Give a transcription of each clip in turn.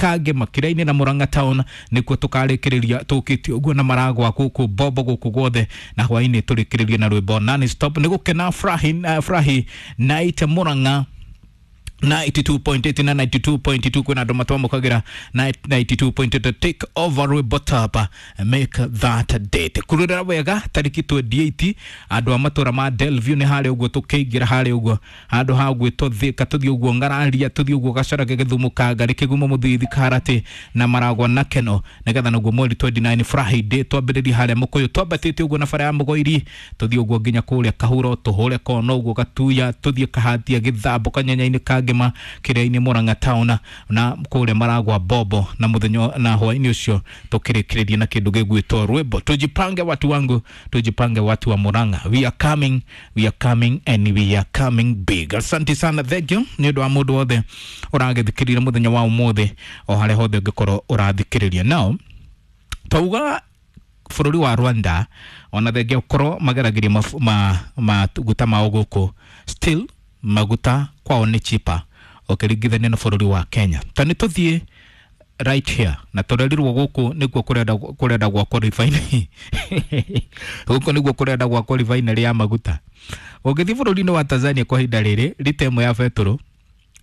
Kangema Kĩrĩa-inĩ na Murang'a town nĩkuo tũkarĩkĩrĩria tũkĩtie ũguo na maragwa gũkũ Bombo gũkũ guothe, na hwaĩ-inĩ tũrĩkĩrĩrie na rwĩmbo non stop. Nĩ gũkena furahi, furahi night Murang'a 92.8 na 92.2 kwĩna andũ matwamũkagĩra 92.8. Take over rwĩmbo tapa make that date kurĩra wega tarĩki 28. Andũ a matũra ma Delview nĩ harĩa ũguo tũkĩingĩra harĩa ũguo handũ ha gwĩtwo Thika, tũthiĩ ũguo Ng'araria, tũthiĩ ũguo Gacarage, Gĩthumo, Kangari, Kĩgumo, Mũthithi, Karati na Maragwa na Keno, nĩgetha naguo mweri 29 Friday twambĩrĩrie harĩa Mũkũyũ, twambatĩte ũguo na bara ya Mũgoiri, tũthiĩ ũguo nginya kũrĩa Kahuro, tũhũre kono ũguo Gatuya, tũthiĩ Kahatia, Gĩthambo, Kanyanya-inĩ Kangema, Kĩrĩa-inĩ, Murang'a town na kũrĩa Maragwa Bombo, na mũthenya na hwaĩ-inĩ ũcio tũkĩrĩkĩrĩria na kĩndũ gĩgwĩtwo rwĩmbo tujipange. Watu wangu, tujipange, watu wa Murang'a, we are coming, we are coming and we are coming big. Asante sana, thank you nĩ ũndũ wa mũndũ wothe ũragĩthikĩrĩria mũthenya wa ũmũthĩ o harĩa hothe ũngĩkorwo ũrathikĩrĩria. Now twauga bũrũri wa Rwanda ona thengia ũkorwo mageragĩria maguta mao gũkũ, still maguta kwao nĩ cheaper ũkĩringithania na bũrũri wa Kenya. Ta nĩ tũthiĩ right here na tũrerirwo gũkũ nĩkuo kũrenda gwakwo refinery, gũkũ nĩguo kũrenda gwakwo refinery ya maguta. Ũngĩthiĩ bũrũri-inĩ wa Tanzania kwa ihinda rĩrĩ, rita ĩmwe ya betũrũ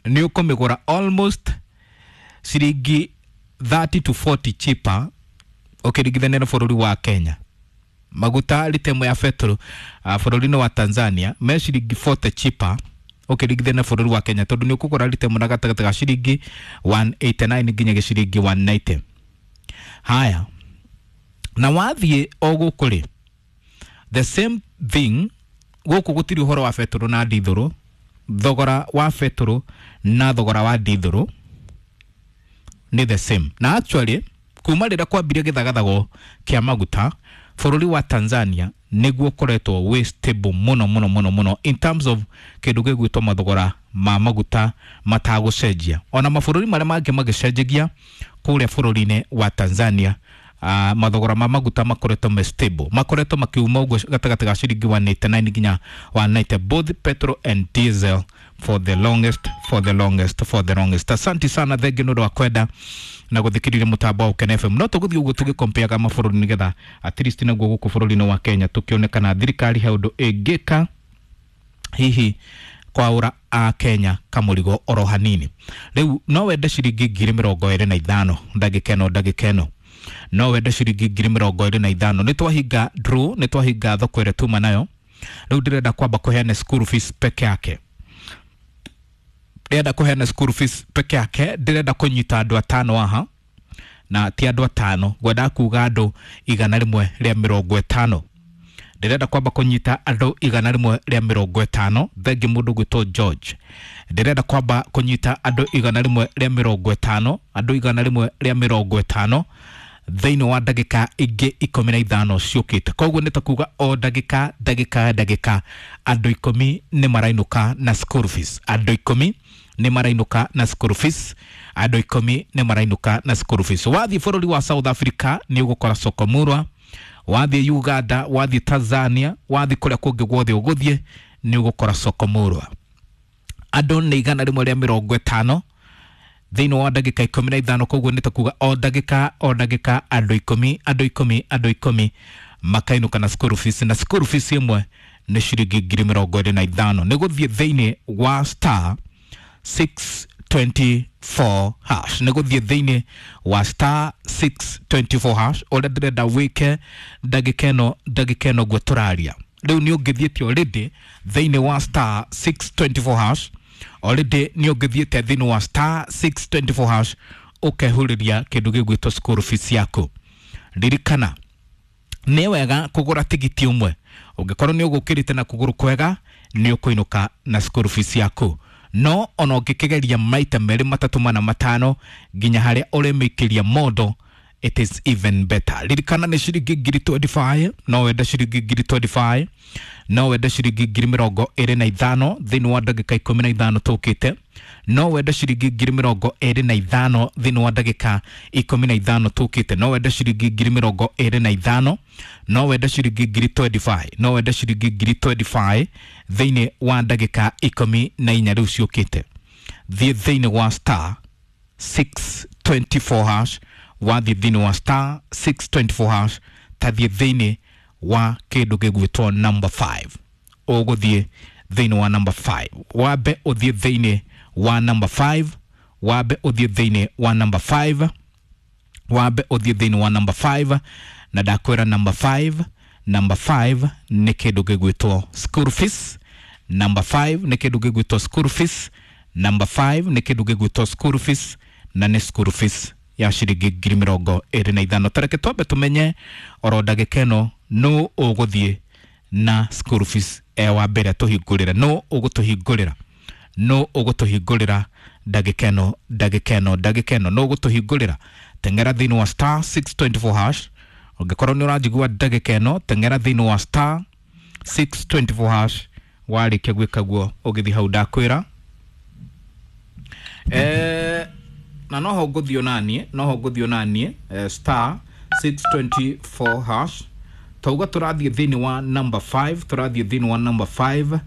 nĩ ũkũmĩgũra almost ciringi 30 to 40 cheaper ũkĩringithania na bũrũri wa Kenya. Maguta rita ĩmwe ya betũrũ bũrũri-inĩ wa Tanzania me ciringi 40 cheaper ũkĩringithania na bũrũri wa Kenya, tondũ nĩ ũkũgũra rita ĩmwe na gatagatĩ ga ciringi 189 nginya ciringi 190. Haya, na wathiĩ o gũkũ rĩ, the same thing. Gũkũ gũtirĩ ũhoro wa betũrũ na ndithũrũ. Thogora wa betũrũ na thogora wa ndithũrũ nĩ the same, na actually kuma rĩrĩa kwambirie gĩthagathago kĩa maguta, bũrũri wa Tanzania nĩguo ũkoretwo wĩ stable mũno mũno mũno mũno in terms of kĩndũ gĩgwĩtwo mathogora ma maguta matagũcenjia. Ona mabũrũri marĩa mangĩ magĩcenjagia, kũrĩa bũrũri-inĩ wa Tanzania mathogora ma maguta makoretwo me stable, makoretwo makiuma ũguo gatagatĩ ga ciringi 189 nginya 190, both petrol and diesel, for the longest, for the longest, for the longest. Asante sana, thengi nĩ ũndũ wa kwenda na gũthikĩrĩria mũtambo wa Ũkena FM. No tũgũthiĩ ũguo tũgĩkompeaga mabũrũri nĩgetha at least naguo gũkũ bũrũri-inĩ wa Kenya tũkĩone thirikari he ũndũ ĩngĩka hihi kwaũra a Kenya kamũrigo oro hanini. Rĩu no wende ciringi 25,000 ndagĩka ĩno? Ndagĩka ĩno no wende ciringi 25,000? Nĩ twahinga draw, nĩ twahinga thoko ĩrĩa tuma nayo. Rĩu ndĩrenda kwamba kũheana school fees peke yake, ndĩrenda kũheana school fees peke yake. Ndĩrenda kũnyita andũ atano aha, na ti andũ atano, ngwendaga kuga andũ 150. Ndĩrenda kwamba kũnyita andũ 150. Thengi mũndũ gwĩtwo George. Ndĩrenda kwamba kũnyita andũ 150, andũ 150 thĩinĩ wa ndagĩka ingĩ 15 ciũkĩte. Koguo nĩ ta kuga o ndagĩka ndagĩka ndagĩka andũ 10 nĩ marainũka na school fees, andũ 10 nĩ marainũka na school fees, andũ 10 nĩ marainũka na school fees. Wathiĩ bũrũri wa South Africa nĩ ũgũkora Sokomurwa, wathiĩ Uganda, wathiĩ Tanzania, wathiĩ kũrĩa kũngĩ guothe ũgũthiĩ nĩ ũgũkora Sokomurwa. Andũ nĩ 150 thĩinĩ wa ndagĩka 15. Koguo nĩ ta kuga o ndagĩka o ndagĩka andũ 10, andũ 10, andũ 10 makainũka na school fees, na school fees ĩmwe nĩ ciringi 25,000. Nĩ gũthiĩ thĩinĩ wa star 624 hash, nĩ gũthiĩ thĩinĩ wa star 624 hash. Ũrĩa ndĩrenda wĩke ndagĩka ĩno, ndagĩka ĩno guo tũraria rĩu, nĩ ũngĩthiĩte already thĩinĩ wa star 624 hash, already nĩ ũngĩthiĩte thĩinĩ wa star 624 hash ũkehũrĩria kĩndũ gĩgwĩtwo school fees yaku. Ririkana nĩ wega kũgũra tigiti ũmwe. Ũngĩkorwo nĩ ũgũkĩrĩte na kũgũrũ kwega, nĩ ũkũinũka na school fees yaku, no ona ũngĩkĩgeria maita merĩ, matatũ, mana, matano nginya harĩa ũrĩmĩikĩria mondo, it is even better. Ririkana nĩ ciringi 25,000. No wende ciringi 25,000? No wende ciringi 25,000 thĩinĩ wa ndagĩka 15 tũkĩte? No wende ciringi 25,000 thĩinĩ wa ndagĩka 15 tũkĩte? No wende ciringi 25,000? No wende ciringi 25,000? No wende ciringi 25,000 thĩinĩ wa ndagĩka 14 rĩu ciũkĩte? Thiĩ thĩinĩ wa star 624 hash. Wathiĩ thĩinĩ wa star 624 hash, tathiĩ thĩinĩ wa kĩndũ gĩgwĩtwo number 5. Ũgũthiĩ thĩinĩ wa number 5, wambe ũthiĩ thĩinĩ wa number 5, wambe ũthiĩ thĩinĩ wa number 5, wambe ũthiĩ thĩinĩ wa number 5. Na ndakwĩra number 5, number 5 nĩ kĩndũ gĩgwĩtwo school fees. Number 5 nĩ kĩndũ gĩgwĩtwo school fees. Number 5 nĩ kĩndũ gĩgwĩtwo school fees, na nĩ school fees ya ciringi 25,000. Tareke twambe tũmenye oro ndagĩka ĩno nũ ũgũthiĩ na school fees e wa mbere tũhingũrĩre. Nũ ũgũtũhingũrĩra? Nũ ũgũtũhingũrĩra ndagĩka ĩno, ndagĩka ĩno, ndagĩka ĩno? Nũ ũgũtũhingũrĩra? Teng'era thĩinĩ wa star 624 hash. Ũngĩkorwo nĩ ũranjigua ndagĩka ĩno, teng'era thĩinĩ wa star 624 hash. Warĩkia gwĩka guo, ũgĩthiĩ hau ndakwĩra, na noho ngũthiĩ onaniĩ, noho ngũthiĩ onaniĩ, star 624 hash. Tauga tũrathiĩ thĩinĩ wa number 5, tũrathiĩ thĩinĩ wa number 5.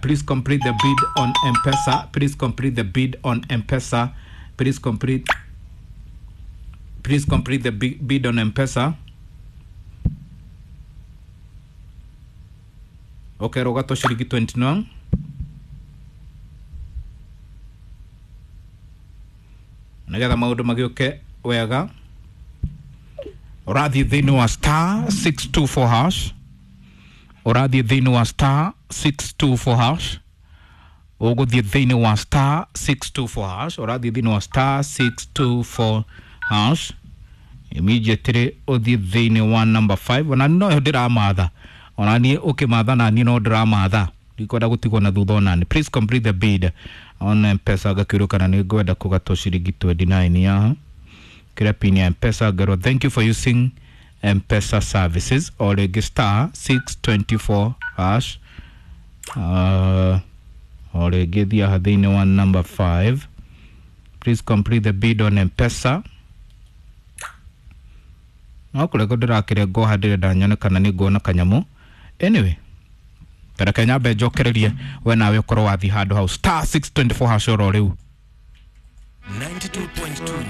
Please complete the bid on M-Pesa. Please complete the bid on M-Pesa. Please complete, please complete the bid on M-Pesa. Okay, rogato ciringi 29. Nigetha maũndũ magĩũke wega, ũrathiĩ thĩinĩ wa star 624 hash. Ũrathiĩ thĩinĩ wa star 624 hash. Ũgũthiĩ thĩinĩ wa star 624 hash. Ũrathiĩ thĩinĩ wa star 624 hash immediately, ũthiĩ thĩinĩ wa number 5. Ona no ndĩramatha, ona niĩ ũkĩmatha na niĩ no ndĩramatha, ndikwenda gũtigwo na thutha onani. Please complete the bid on M-Pesa. Ngakĩũrio kana nĩ ngwenda kũgatwo ciringi 29 yaha kĩrĩa pin ya M-Pesa. Ngerwo thank you for using M-Pesa services. O rĩngĩ star 624 hash. O rĩngĩ thiĩ haha thĩinĩ wa number 5. Please complete the bid on M-Pesa. No kũrĩa ndĩrakĩrengwo haha, ndĩrenda nyone kana nĩ nguona kanyamũ. Anyway, tareke nyambe njokererie we nawe ũkorwo wathiĩ handũ hau star 624 hash oro rĩu. 92.2.